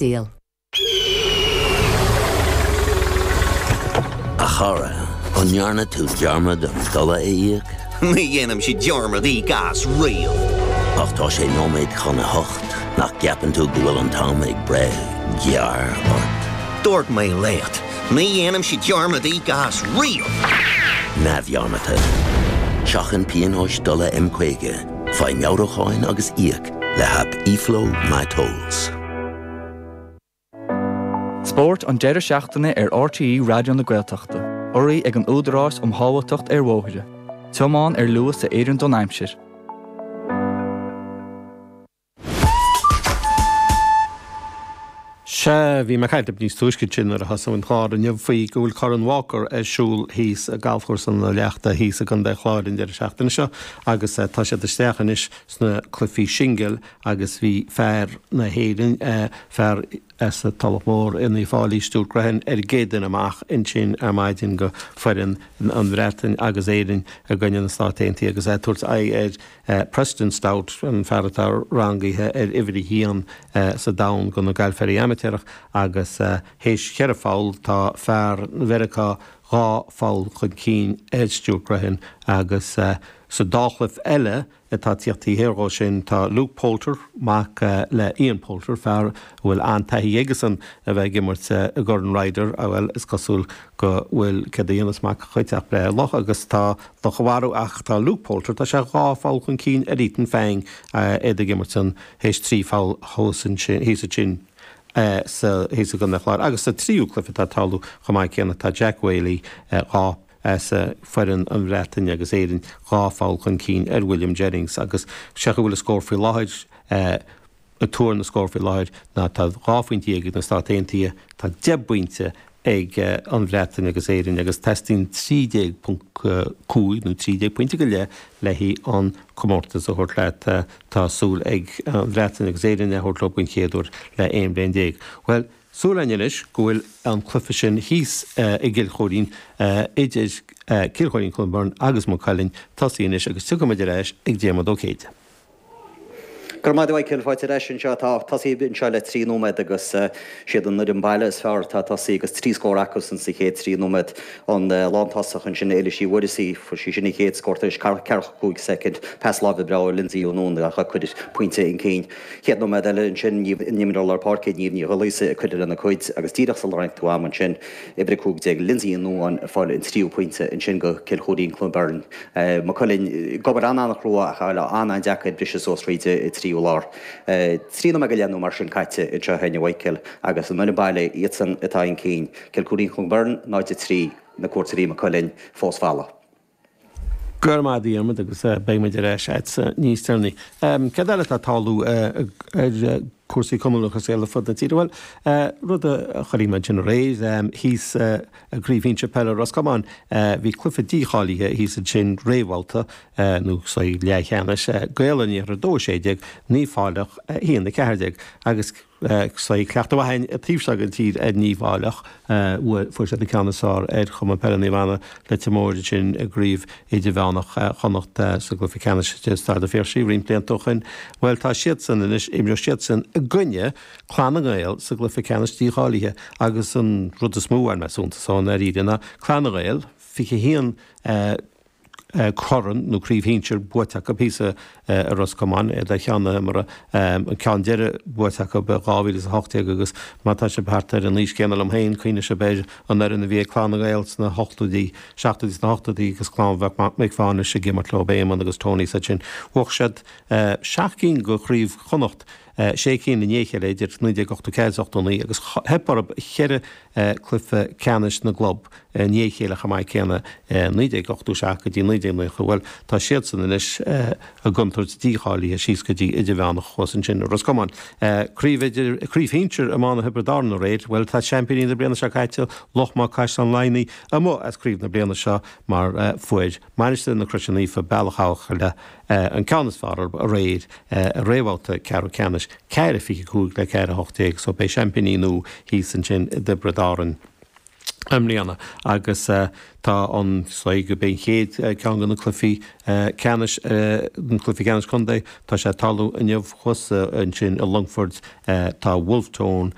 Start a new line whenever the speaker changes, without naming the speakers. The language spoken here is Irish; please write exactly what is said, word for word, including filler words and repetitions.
Deal.
A chara, an ndearna tú dearmad an dola a íoc?
Ní dhéanaimse dearmad íoc as riamh.
Ach tá sé nóiméad chun a hocht, nach gceapann tú go bhfuil an t-am ag breith gearr ort?
Dúirt mé leat, ní dhéanaimse dearmad íoc as riamh.
Neamhdhearmadta. Seachain pionóis dola M caoga, faigh meabhrúcháin agus íoc le haip eFlow MyTolls.
Spórt an deireadh seachtaine ar R T E Raidió na Gaeltachta, urraithe ag an Údarás um Shábháilteacht ar Bhóithre. Tiomáin ar luas a oireann don aimsir.
Sea, bhí mé ag caint níos túisce sin nuair a thosaigh an clár inniu faoi go bhfuil Corn Walker ar siúl thíos i galfchúrsa na Leachta thíos i gContae an Chláir an deireadh seachtaine seo agus tá siad isteach anois sna cluichí singil agus bhí fear na hÉireann, fear as Tulach Mhór in Uíbh Fhailí, Stuart Grehan, ar an gcéad duine amach ansin ar maidin go foireann an Bhreatain agus Éirinn i gcoinne na Stát Aontaithe agus é ag tabhairt aghaidh ar Preston Stout, an fear atá rangaithe ar uimhir a haon sa domhan go na galfairí amaitéarach agus théis cheithre pholl tá fear Mheiriceá dhá pholl chun cinn ar Stuart Grehan agus sa dá chluiche eile atá ag tíocht taobh thiar dhó sin tá Luke Poulter, mac le Ian Poulter, fear a bhfuil an-taithí aigesan a bheith ag imirt i gCorn Ryder, bhuel is cosúil go bhfuil céard a dhéanas mac a chuid ach breith ar luch agus tá luch á mharú ach tá Luke Poulter, tá sé dhá pholl chun cinn ar Ethan Fang iad ag imirt an théis trí pholl thuas ansin thíos ansin sa thíos i gContae an Chláir agus sa tríú cluiche atá ag tarlú chomh maith céanna tá Jack Whaley dhá as foireann an Bhreatain agus Éirinn dhá pholl chun cinn ar William Jennings agus sé go bhfuil a scór faoi láthair a tuar na scór faoi láthair ná tá dhá phointe ag na Stáit Aontaithe tá deich bpointe ag an Bhreatain agus Éirinn agus teastaíonn trí déag ponc cúig nó trí déag pointe go leith le an comórtas a thabhairt leat tá súil ag an Bhreatain agus Éirinn a thabhairt leo den chéad uair le aon bhliain déag. Well, súil againn anois go bhfuil an cluiche sin thíos i gCill Choirín idir Cill Choirín Cluain Bheirn agus Maigh Cuilinn tosaithe anois agus tiocfaimid ar ais ag Diarmuid Ó Céide.
Go raibh maith agat a Mhichael, fáilte ar ais anseo tá tosaithe anseo le trí nóiméad agus siad an fhoireann baile is fearr atá tosaithe agus trí scór acusan sa chéad trí nóiméad an lántosach ansin Éilís Uí Mhuireasaigh fuair sí sin an chéad scór tar éis ceathracha cúig soicind pas láimhe breá ó Lindsay Ó Nuadháin a chuir pointe chun cinn. Chéad nóiméad eile ansin an imreoir lár páirce Niamh Ní Ghulaosa ag cur lena cuid agus díreach sula tharraing tú am ansin uimhir a cúig déag Lindsay Ó Nuadháin ag fáil an tríú pointe ansin go Cill Choirín Cluain Bheirn. Maigh Cuilinn ag obair an-an-chrua ach an-an-deacair briseadh suas fríd an tríú lár. Trí nóiméad go leith nó mar sin caite anseo a Mhichael agus an fhoireann baile iadsan atá chun cinn. Cill Choirín Cluain Bheirn náid a trí na cuairteoirí Maigh Cuilinn fós folamh.
Go raibh maith agat a Dhiarmuid agus beidh muid ar ais agatsa níos deireanaí. Céard eile atá ag tarlú ar cúrsaí cumann lúthchleas Gael ar fud na tíre? Bhuel, rud a chuirfidh muid sin aréir thíos i gCraobh Shinsir Peile Ros Comáin bhí cluiche dícháilithe thíos ansin réamhbhabhta nó sa leathcheannais Gaeil an Iarthair dó sé déag Naomh Fáileach a haon a ceathair déag agus sé cleachtadh mhaith an taobh seo den tír ar Naomh Fáileach fuair siad an ceann is fearr ar Chumann Peile Naomh Anna Leitir Móir ansin i gcraobh idirmheánach Chonnacht sa gcluiche ceannais de Staid an Phiarsaigh roinnt blianta ó shin. Bhuel tá siadsan anois imreoidh siadsan i gcoinne Clann na nGael sa gcluiche ceannais dícháilithe agus an rud is mó ar measúntas ann ar ná Clann na nGael fiche haon corn nó craobh shinsir buaite acu thíos i Ros Comáin iad ar cheann na himeartha an ceann deiridh buaite acu i dhá mhíle is a hocht déag agus má tá sibh thart ar an aois céanna liom féin cuimhneoidh sibh ar an fhoireann a bhí ag Clann na nGael sna hochtóidí seachtóidí sna hochtóidí agus clann Mhic Mhánais ag imirt leo Éamonn agus Tony said sin bhuaigh siad seacht gcinn de chraobh Chonnacht sé cinn i ndiaidh a chéile idir naoi déag ochtó ceathair is ochtó naoi agus theip orthu cheithre cluiche ceannais na gclub i ndiaidh a chéile chomh maith céanna naoi déag ochtó seacht go dtí naoi déag nócha bhuel tá siadsan anois i gcontúirt dícháilithe síos go dtí idirmheánach thuas ansin i Ros Comáin. Craobh idir craobh shinsir iomána Thiobraid Árann aréir bhuel tá seaimpíní na bliana seo caite Loch Muc Caisleán Laighnigh amuigh as craobh na bliana seo mar fuair Mainistir na Croise Naofa Bealach Eochaille an ceann is fearr aréir i réamhbhabhta ceathrú ceannais ceathair fiche cúig le ceathair a hocht déag so beidh seaimpíní nua thíos ansin i dTiobraid Árann. I mbliana agus uh, tá an slí go ben chéad uh, ceann de na cluichí uh, ceannais uh, an cluichí ceannais contae tá sé ag tarlú inniu thuas ansin i Longfort uh, tá Wolfe Tone